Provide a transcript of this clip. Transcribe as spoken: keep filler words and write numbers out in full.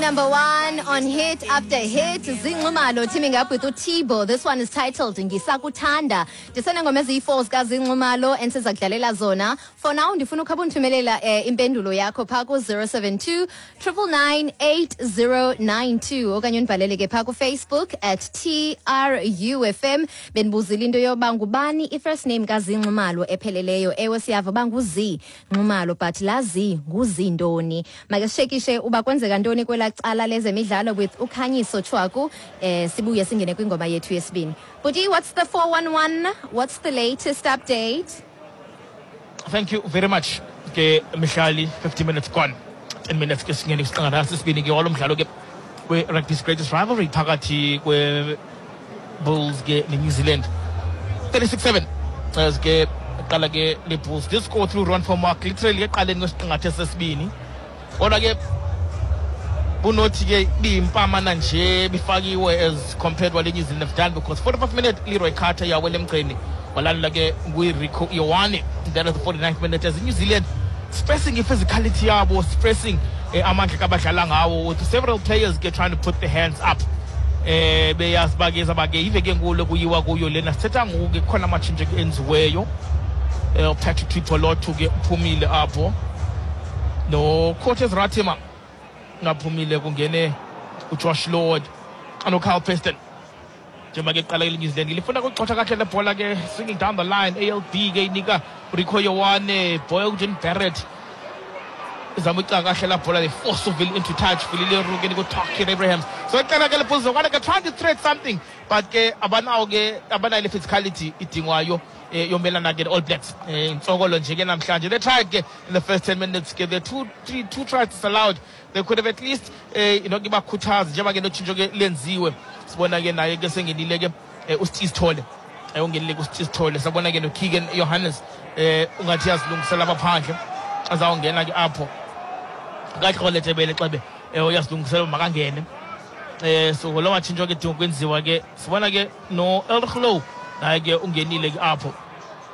Number one on hit after hit. Zee Nxumalo teaming up with uTibo. This one is titled Ngisakuthanda. Ndisenengoma eziyi-four zikaZee Nxumalo endiza kudlalela zona. For now ndifuna ukhaba undithumelela eh, impendulo yakho phaa ku-zero seven two nine nine nine eight zero nine two okanye undibhalele ke phaa kuFacebook at T R U F M. Bendibuzile into yoba ngubani i-first name kaZee Nxumalo epheleleyo. Ewe, siyava uba nguZee Nxumalo, but laa Z nguZ ntoni? Make sishekishe uba kwenzeka ntoni kwelaa cala lezemidlalo with uKhanyiso Chwaku, eh sibuye singene kwingoma yethu yesibini. Buti, what's the four one one? What's the latest update? Thank you very much ke Mihlali. fifty minutes gone ten minutes ke singene kwisiqingatha sesibini ke walo mdlalo ke we-rugby's greatest rivalry phakathi kwe-Bulls ke ne-New Zealand. thirty-six seven as ke qala ke le Bulls did score through Ruan Vermaak literally eqaleni kwesiqingatha sesibini, kodwa ke bunothi ke biyimpamana nje bifakiwe as compared wale New Zealand have done, because forty-five minute Leroy Carter yawela emgceni, walandela ke nguRieko Ioane. That is the forty-ninth minute as New Zealand stressing i-physicality yabo, stressing eh, amandla kabadlala ngawo, with several players ke trying to put their hands up, eh beyazi ba ke zaba ke iveke enkulu kuyiwa kuyo lena. Sithetha ngoku ke kukhona amatshintsho ke enziweyo. eh Patrick Tuipulotu ke uphumile apho, no Cortez Ratima ngaphumile, kungene uJosh Lord anoKyle Preston. Njengoba ke qala New Zealand lifuna ukuxotha kahle le bhola ke, swinging down the line, A L B ke inika Rieko Ioane, Beauden Barrett izama ucinga kahle la bhola, they force uVille into touch. Vili Le Roux ke niko Abrahams. So iqala ke le Bulls ke trying to thread something, but ke abanawo ke, abanayo le physicality idingwayo eh, yomelana ke All Blacks. eh intsokolo nje ke namhlanje. They tried ke in the first ten minutes ke, the two three two tries disallowed. They could have at least eh you know kibakhuthaza. Njengoba ke notshintsho ke lenziwe, sibona ke naye ke sengenile ke eh, uSteve Sithole, eh ungenile ke uSteve Sithole. Sabona ke noKeegan Johannes, eh ungathi yazilungisela apha phandle, azawungena ke apho kaxole Tebele xebe, eh uyazilungisela makangene. eh so lo matshintsho ke dinga kwenziwa ke. Sibona ke no Elrigh Louw naye ke ungenile ke apho.